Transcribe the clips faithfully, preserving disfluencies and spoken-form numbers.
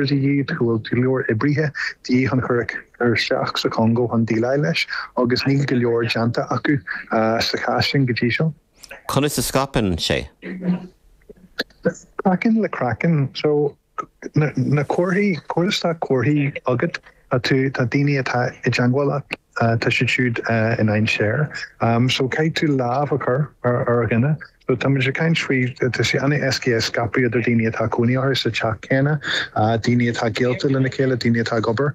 de dhíth, go bhfuil go leor oibrithe de dhíth chun cur isteach sa Chongó chun déileáil leis agus níl go leor déanta acu sa chás sin go dtí seo. Conas a scaipeann sé? Craiceann le craiceann so na, na comharthaí cuir comharthaí agat tú tá daoine atá i dteagmháil leat tá siad siúd i ndainséar. Um, so caithfidh tú lámh a chur ar ar dhuine. So tá muid ag caint faoi tá sé an-éasca é scaipeadh idir daoine atá cónaí orthu sa teach céanna, daoine atá gaolta lena chéile, daoine atá ag obair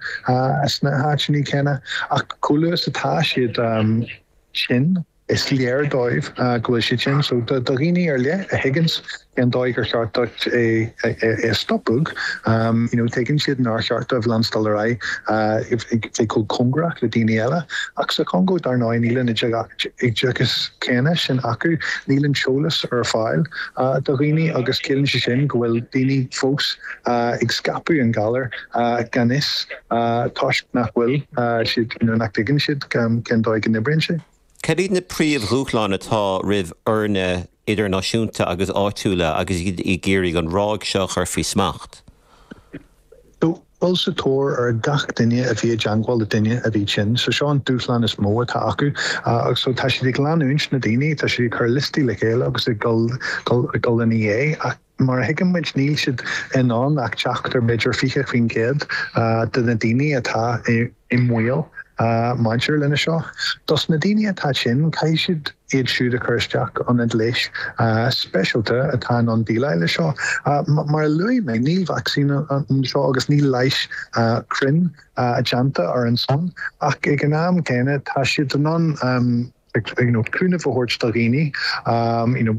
sna háiteanna céanna ach chomh luath is atá siad um, sin is léir dóibh go bhfuil siad sin so do dhaoine ar leith a thuigeann cén dóigh gur cheart duit é é stopadh um, you know, tuigeann siad nár cheart dóibh leanstan ar aghaidh bheith chomh cóngarach le daoine eile ach sa Chongó dar ndóigh níl an oideachas céanna sin acu níl an t-eolas ar fáil uh, do dhaoine agus ciallaíonn sé sin go bhfuil daoine fós uh, ag scaipeadh an galar uh, gan fhios uh, toisc nach bhfuil uh, siad you know, nach dtuigeann siad cén dóigh go n-oibríonn sé. Cad iad na príomhdhúshláin atá roimh fhoirne idirnáisiúnta agus áitiúla agus iad ag iarraidh an ráig seo a chur faoi smacht. So dul sa tóir ar gach duine a bhí i dteagmháil le duine a bhí tinn, so seo an dúshlán is mó atá acu agus so tá siad ag leanúint na daoine tá siad ag cur liostaí le chéile agus ag dul dul ina dhiaidh ach mar a thuigeann muid níl siad in ann ach teacht ar b'fhéidir fiche faoin gcéad de na daoine atá i mbaol maidir lena seo. Dos na daoine atá tinn caithfidh siad iad siúd a chur isteach ionad leighis speisialta atá in ann déileáil le seo. Mar a luaigh mé níl vacsaín anseo agus níl leigheas cruinn déanta ar an son ach ag an am céanna tá siad in ann you know, cúnamh a thabhairt do dhaoine um, you know,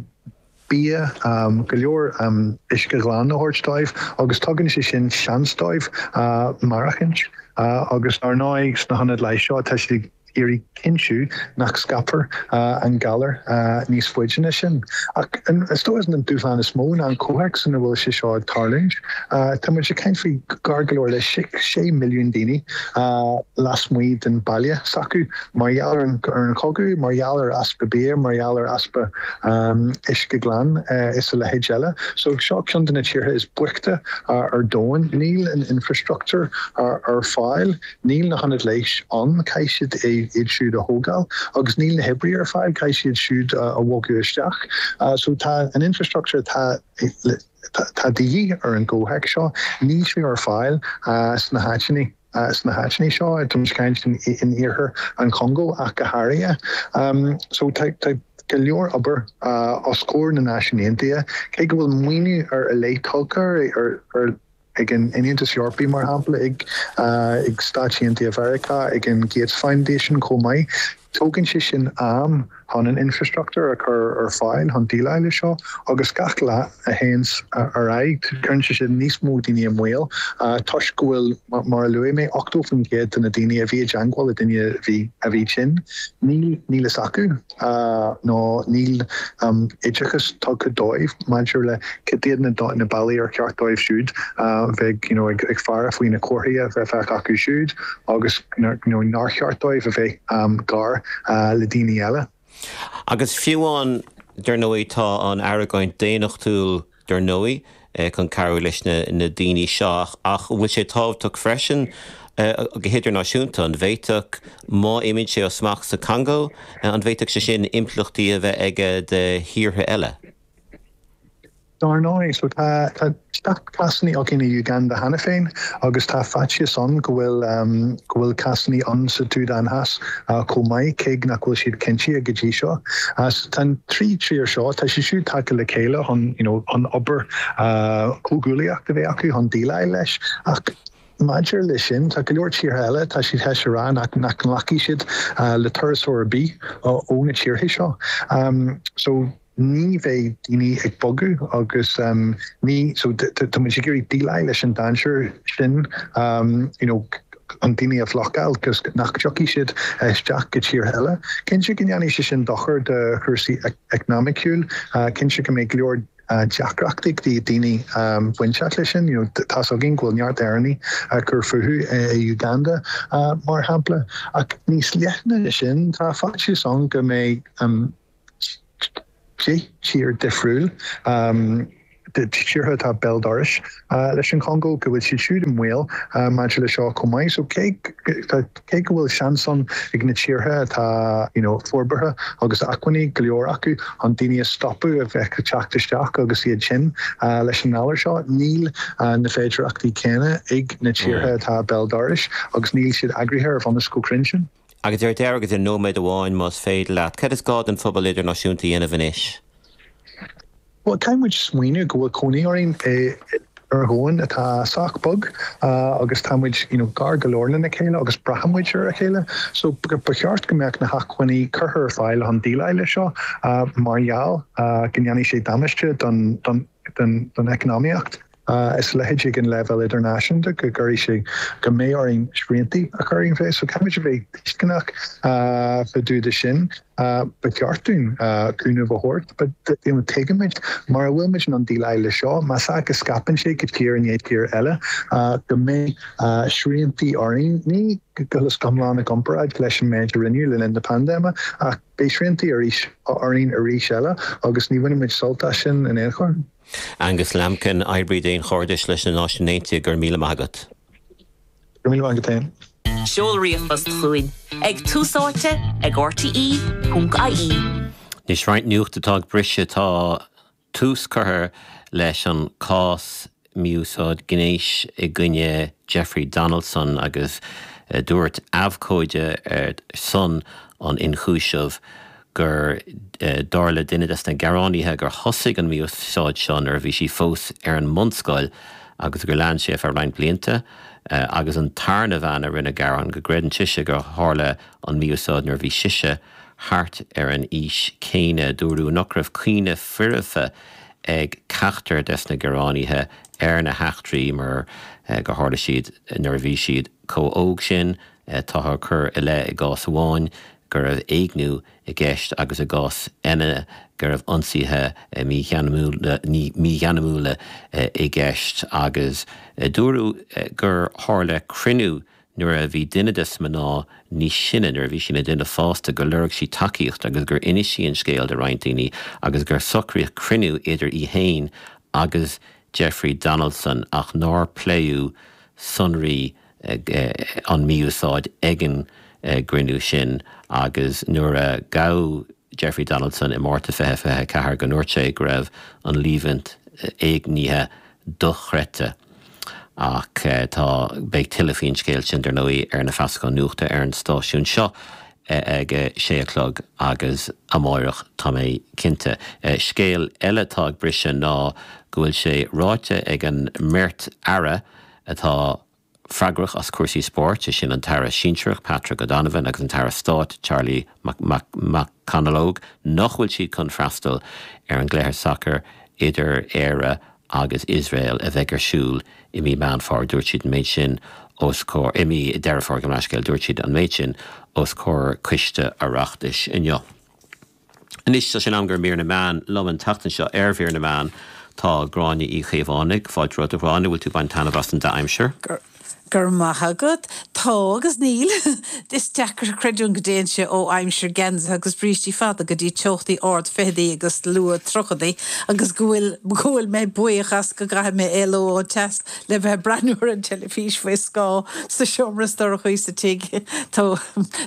bia um, go leor um, uisce glan a thabhairt dóibh agus tugann sé sin seans dóibh uh, maireachtaint uh, agus ar ndóigh sna hionaid leighis seo tá siad ag iarraidh cinntiú nach scaipfear uh, an galar uh, níos faide ná sin. Ach is dóigh an dúshlán is mó ná an comhthéacs ina bhfuil sé seo ag tarlúint. Uh, tá muid ag caint faoi gar go leor le sé milliún daoine uh, lasmuigh den baile s'acu mar gheall ar an chogadh, mar gheall ar easpa bia, mar gheall ar easpa um, uisce glan uh, is a leithéid eile. So seo ceann de na tíortha is boichte uh, ar domhan, níl an infrastructure ar, ar fáil, níl na hionaid leighis ann caithfidh siad é iad siúd a thógáil, agus níl na hoibrithe ar fáil caithfidh siad siúd a bhogadh isteach. Uh, so tá an infrastructure tá tá de dhíth ar an gcomhthéacs seo, níl sé ar fáil uh, sna háiteanna. Uh, sna háiteanna seo tá caint in, in iarthar an Chongó ach go háirithe. Um, so tá tá go leor obair uh, os comhair na Náisiún Aontaithe, cé go bhfuil maoiniú ar a leith tugtha ar, ar ag an Aontas Eorpach mar shampla ag uh, ag Stáit Aontaithe Mheiriceá ag an Gates Foundation chomh maith. Tógann sé sin am chun an infrastructure a chur ar fáil chun déileáil le seo agus gach lá a théann ar aghaidh cuireann sé sin níos mó daoine i mbaol toisc go bhfuil mar a luaigh mé ochtó faoin gcéad de na daoine a bhí i dteagmháil le duine a bhí a bhí tinn. Níl níl fhios acu nó níl um, oideachas tugtha dóibh maidir le cad iad na na bealaí ar cheart dóibh siúd bheith you know, ag, ag faire faoi na comharthaí a bheith acu siúd agus you know, nár cheart dóibh a bheith um, gar uh, le daoine eile. Agus fiú amháin dar ndóigh tá an argóint daonnachtúil dar ndóigh chun cabhrú leis na, na daoine seo ach bhfuil sé tábhachtach freisin go hidirnáisiúnta an bhféadfadh má imíonn sé ó smacht sa Chongó an bhféadfadh sé sin impleachtaí a bheith aige do thíortha eile. Dar ndóigh so tá tá cásanna againn i Uganda cheana féin agus tá faitíos ann go bhfuil um, go bhfuil cásanna ann sa tSúdáin Theas uh, chomh maith cé nach bhfuil siad cinnte go dtí seo. Uh, tá trí tír seo tá sé siúd tagtha le chéile chun you know, an obair uh, comhghuaillíocht a bheith acu chun déileáil leis ach Maidir le sin tá go leor tíortha eile tá siad théis a rá nach nach nglacfaidh siad uh, le turasóir ar bith ó na tíortha seo. Um, so ní bheidh daoine ag bogadh agus um, ní so tá muid ag iarraidh déileáil leis an dainséar sin um, you know, an daoine a bhlocáil agus nach dtiocfaidh siad isteach go tír eile. Cinnte go ndéanfaidh sé sin dochar do chúrsaí eacnamaíochta, uh, cinnte go mbeidh go leor uh, deacrachtaí do daoine um, bainteach leis sin, you know, tá againn go bhfuil neart Éireannaigh uh, cur fúthu i Uganda uh, mar shampla ach níos leithne sin tá faitíos ann go mbeidh um, deich tír difriúil um, tíortha atá béal dorais leis an Chongó, go bhfuil siad siúd i mbaol maidir le seo chomh maith. So cé cé go bhfuil seans ann ag na tíortha atá you know, forbartha agus acmhainní go leor acu an daoine a stopadh a bheith ag teacht isteach agus iad sin leis an ngalar seo, níl na féidearthachtaí céanna ag na tíortha atá béal dorais agus níl siad eagraithe ar bhunús chomh cruinn sin. Agus ar deireadh agus i nóiméad amháin más féidir leat, cad is gá don phobal idirnáisiúnta a dhéanamh anois? Well, caithfidh muid smaoineamh go bhfuil cónaí orainn ar dhomhan atá sách beag agus tá muid you know, gar go leor lena chéile agus braitheann muid ar a chéile. So ba cheart go mbeadh na hacmhainní curtha ar fáil chun déileáil leis seo mar gheall go ndéanfaidh sé damáiste don, don, don, don eacnamaíocht. Is leithéid ag an leibhéal idirnáisiúnta go gcuirfidh sé go mbeidh orainn srianta a chur orainn féin, so caithfimid a bheith tuisceanach fá dtaobh de sin. Ba cheart dúinn cúnamh a thabhairt, but tuigimid mura bhfuil muid in ann déileáil leis seo, más ea go scaipeann sé go tír i ndiaidh tír eile, go mbeidh srianta orainn, ní go hiomlán i gcomparáid leis an méid a rinneadh le linn na paindéime, ach beidh srianta arís orainn arís eile agus ní bhainfimid sult as sin in aon chor. Angus Lambkin, oibrí daonchairdis leis na Náisiúin Aontaithe, go raibh míle maith agat. Go raibh míle maith agat féin. Seol ríomhphost chugainn ag tús áite ag rte ponc ie. Anois roinnt nuacht atá ag briseadh tá tús curtha leis an cás mí-úsáid gnéis i gcoinne Jeffrey Donaldson agus dúirt abhcóide ar son an ionchúisimh gur dar le duine des na gearánaithe gur thosaigh an mí-úsáid seo nuair a bhí sí fós ar an mbunscoil agus gur lean sé feadh roinnt blianta agus an tarna bhean a rinne gearán go gcreideann sise gur tharla an mí-úsáid nuair a bhí sise thart ar an aois céanna. Dúradh nach raibh cuimhne foirfe ag ceachtar des na gearánaithe ar na heachtraí mar gur tharla siad nuair a bhí siad chomh hóg sin. Táthar ag cur i leith i gcás amháin go raibh éigniú i gceist agus i gcás eile go raibh ionsaithe mígheanmúla i gceist agus dúradh gur tharla cruinniú nuair a bhí duine des na mná níos sine, nuair a bhí sí ina duine fásta, gur lorg sí tacaíocht agus gur inis sí an scéal do roinnt daoine agus gur socraíodh cruinniú idir í féin agus Jeffrey Donaldson ach nár pléadh sonraí an mí-úsáid ag an gcruinniú sin agus nuair a gabhadh Jeffrey Donaldson i Márta fiche fiche a ceathair go ndúirt sé go raibh an líomhaint éignithe dochreidte. Ach tá, beidh tuilleadh faoin scéal sin dar ndóigh ar na feasacháin nuachta ar an stáisiún seo ag a sé a chlog agus amáireach tá mé cinnte. Scéal eile atá ag briseadh ná go bhfuil sé ráite ag an mbeirt aire atá freagrach as cúrsaí spóirt, sé sin an tAire Sinsearach Patrick O'Donovan agus an tAire Stáit Charlie McConalogue, nach bhfuil siad chun freastal ar an gcluiche sacair idir Éire agus Iosrael a bheidh ar siúl i mí Meán Fómhair. Dúirt siad an méid sin os comhair, i mí Deireadh Fómhair, gabh mo leithscéal, dúirt siad an méid sin os comhair Coiste Oireachtais inniu. Anois tá sé in am do mhír na meán liom an tseachtain seo ar mhír na meán tá Gráinne Uí Chaomhánaigh, fáilte romhat a Ghráinne, bhfuil tú ag baint taitneamh as an dea-aimsir? Go raibh maith agat. Tá agus níl. Is deacair creidiúint go dtéann sé ó aimsir geansaithe agus brístí fada go dtí teochtaí ard fichidí agus luath tríochaidí agus go bhfuil go bhfuil mé buíoch as go gcaithfidh mé éalú ón teas le bheith ag breathnú ar an teilifís faoi scáth sa seomra is dorchaí sa tigh. Tá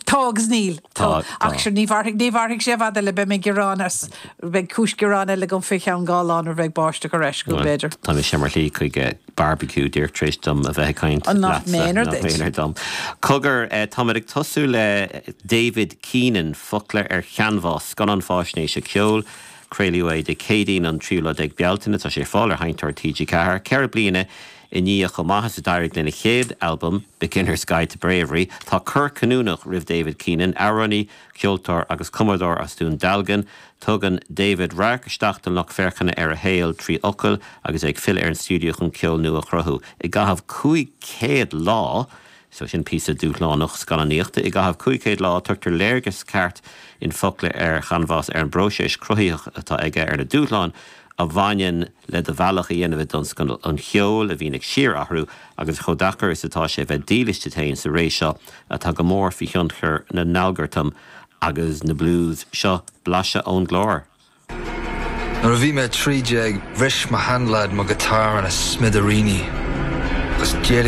tá agus níl. Tá. Ach sure ní mhairfidh ní mhairfidh sé i bhfad eile beidh mé ag gearán as beidh cúis gearáin eile agam faoi cheann dhá lá nuair a bheidh báisteach ar ais go b'fhéidir. Tá mise ar mo shlí chuig barbecue díreach tar éis dom a bheith ag caint An nach leatsa. méanar Nach duit. méanar dom. Cogar, táimid ag tosú le David Keenan, Focla ar Chanbhás, scannán faisnéise ceoil. Craoladh é Dé Céadaoin an tríú lá déag Bealtaine. Tá sé ar fáil ar Sheinnteoir T G ceathair. Ceithre bliana i ndiaidh chomh maith is a d'éirigh lena chéad albam, Beginner's Guide to Bravery, tá cor cinniúnach roimh David Keenan, amhránaí, ceoltóir agus cumadóir as Dún Dealgan. Tugann David radharc isteach don lucht féachana ar a shaol trí fhocail agus é ag filleadh ar an stiúideo chun ceol nua a chruthú. I gcaitheamh cúig chéad lá, so sin píosa dúshlánach scannánaíochta, i gcaitheamh cúig chéad lá tugtar léargas ceart in Focla ar Chanbhás ar an bpróiseas cruthaitheach atá aige, ar na dúshláin a bhaineann le do bhealach a dhéanamh i dtionscal an cheoil a bhíonn ag síorathrú agus chomh deacair is atá sé bheith dílis duit féin sa ré seo atá go mór faoi thionchar na n-algartam agus na blues. Seo blaiseadh ón gclár. Nuair a bhí mé trí déag bhris mo sheanleaid mo ghiotár ina smidiríní, agus déirím